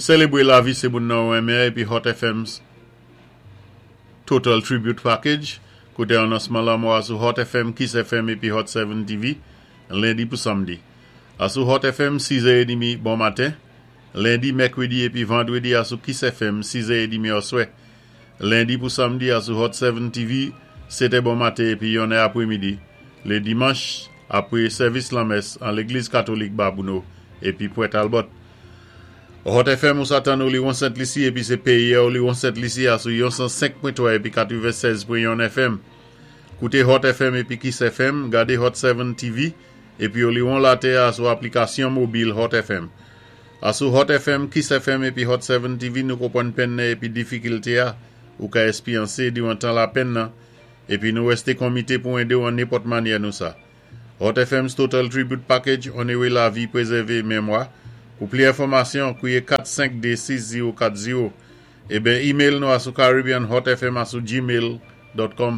Sélébwé Lavi sé Moun nan ou Renmen épi Hot FM's Total Tribute Package, koté anonsman lanmò a sou Hot FM, Kiss FM épi Hot 7 TV, lendi pou samdi. Asou Hot FM, 6 è demi bon maten, lendi, mèkwédi épi vandwédi asou Kiss FM, 6 è demi oswè. Lendi pou samdi asou Hot 7 TV, 7 è bon maten épi 1 è apwémidi. Lé dimanch, apwé sèvis lanmès an Légliz Katolik Babouno épi Pwent Talbot. Hot FM ou sa tann Oliwon Sent Lisi épi sé péyi Oliwon Sent Lisi asou 105.3 épi 96.1 FM. Kouté Hot FM épi Kiss FM, gadé Hot 7 TV épi Oliwon Latè asou aplikasyon mobil Hot FM. Asou Hot FM, Kiss FM épi Hot 7 TV nou konpwann penn nan épi difikilté a ou ka èspyansé diwan tan lapenn nan épi nou wèsté konmité pou édé ou an nenpòt manyè nou sa. Hot FM's Total Tribute Package, Onoré Lavi, Pwézèvé Mémwa. Pou pli enfòmasyon, kwiyé 452 6040 eben email nou asou caribbeanhotfm@gmail.com.